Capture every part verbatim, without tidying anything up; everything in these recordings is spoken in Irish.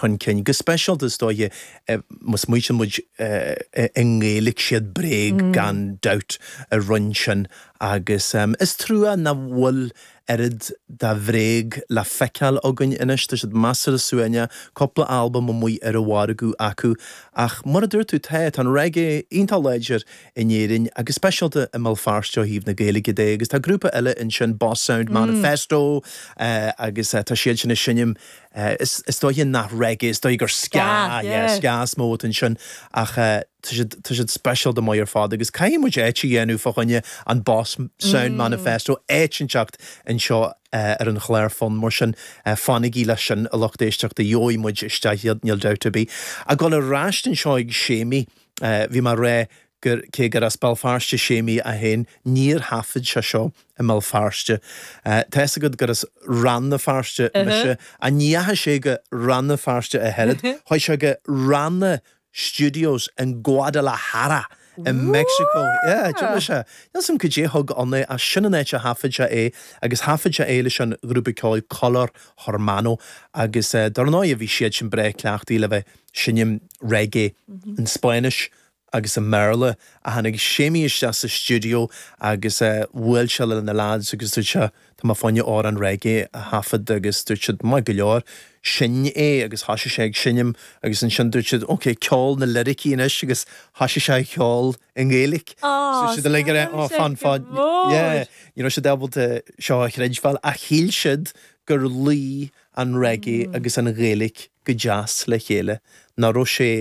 chun cinn. Go speisialta is dóiche má smaoitíonn muid i nGaeilge siad Bréag gan dabht a rinne sin agus is trua nach bhfuil oiread de Bhréag le feiceáil againn anois, tá siad measartha suaimhneach, cúpla albam amuigh ar an mhargadh acu ach mar a dúirt tú tá, tá an reggae iontach láidir in Éirinn agus speisialta i mBéal Feirste ó thaobh na Gaeilge de agus tá grúpa eile ansin Boss Sound Manifesto agus tá siad sin ag seinm is is dóiche nach reggae, is dóigh gur ska, yeah, ska is mó atá ansin ach tá siad tá siad speisialta maith ar fad agus caithfidh muid áit a dhéanamh fá choinne an Boss Sound Manifesto áit inteacht anseo ar an chlár fonn mar sin fanaigí leis sin a lucht éisteachta gheobhaidh muid isteach iad níl dabht ar bith. Ag dul ar ais anseo ag Séimí bhí mé ag rá gur cé gur as Béal Feirste Séimí é féin níor thaifead sé seo i mBéal Feirste. Tá fhios agat gur as Rann na Feirste mise a ní dheachaigh sé go Rann na Feirste a oiread, chuaigh sé go Ranna Studios in Guadalajara i Mexico. Yeah, d'imigh sé. Níl 'fhios a'm cad é thug ann é ach sin an áit a thaifead sé é agus thaifead sé é leis an ghrúpa ceoil Color Hermano agus dar ndóigh bhí siad sin breá cleachtaithe le bheith seinm reggae in Spáinnis agus i mBéarla a tháinig Séimí isteach sa stiúideo agus bhuail sé le na lads agus dúirt sé tá mé fá choinne amhrán reggae a thaifead agus dúirt siad maith go leor sin é agus thosaigh sé ag seinm agus ansin dúirt siad ok ceol na liricí anois agus thosaigh sé ag ceol i nGaeilge. So siad uilig ar oh fan fan yeah ní raibh siad ábalta seo a chreidbheáil ach shíl siad gur luigh an reggae agus an Ghaeilge go deas le chéile nach raibh sé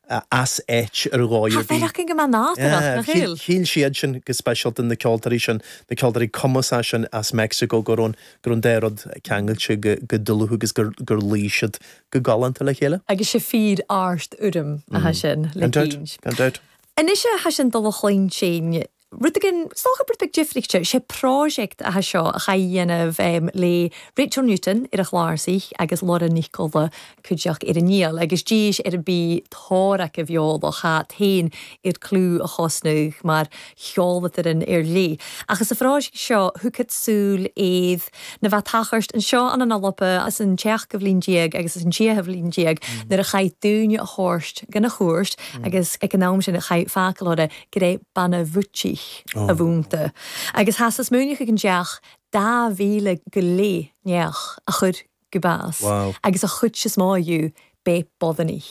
as áit ar dhóigh ar bith. Tá go maith nádúrach nach bhfuil. Shíl siad sin go speisialta na ceoltóirí sin, na ceoltóirí cumasacha sin as Mexico go raibh go raibh an dá rud ceangailte go go dlúth agus gur gur luigh siad go galánta le chéile. Agus sé fíor art urraim atá sin le Gan dabht, cinn. gan dabht. Anois a sin dul a chluin sin Rud again stocha rud beag difríochta sé project atá seo a chaidhéanamh um, le Rachel Newton ar a chláirseach agus Laura Nicola cuideach ar an níl agus díis ar an bí tóraach a bheolach cha tain ar clú a chosnú mar cheolatar an ar lí. Ach is a phróiseacht seo thucad súil éad na bheith tachart an seo an an alpa as an teach go bhliain déag agus as an tríocha bliain déag nuair a chaith dúine a thabhairt gan a chuairt agus ag an am sin a chaith fácalóra go raibh banna bhutí a bhúnta. Agus has is múneach an deach dá mhíle go lé neach a chur go bás. Wow. Agus a chut is máú bé bodaní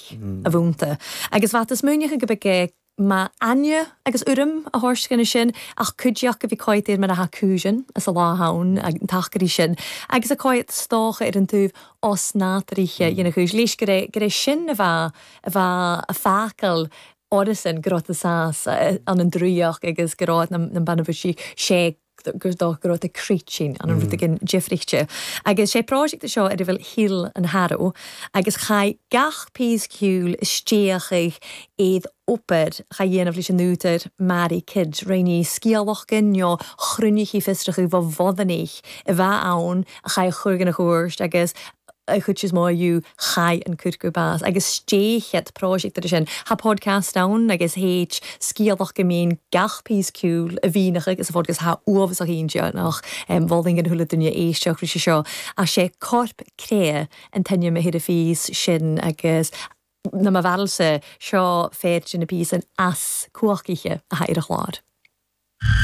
a bhúnta. Agus bhat is múneach go be má aine agus urraim a thabhairt ganna sin ach cuideach go bhí cóiir mar a haúsin as a láháin ag an tacharí sin, agus a cóid stocha ar an tuh os nátaríche dhéna chuis léis go raibh go raibh sin a bheith a bheith a fácail árasan go raibh sás an an druíoch agus go raibh na na banna sé gur dó go raibh crítín an an rud again difríochta. Agus sé project seo ar a bhfuil Heal an Harrow agus chaith gach píos ceoil isteachaigh éad obair cha dhéanamh leis an údar Mary Kidd réní scialachgan nó chruinnichi fiosracha bh bhodanich a bheith ann a chaith chur a chuairt agus a chud is má chaith an cur bás agus stéchet project ar sin ha podcast ann agus héit scialach go mín gach píos ceoil a bhínacha agus a fod ha uamh a chéinte nach bhing an thula duine éisteach ri sé seo a sé corp cré an teine me hir a fís sin agus na ma bhelse seo féidir na pí an as cuachiche a ha ar a chlár.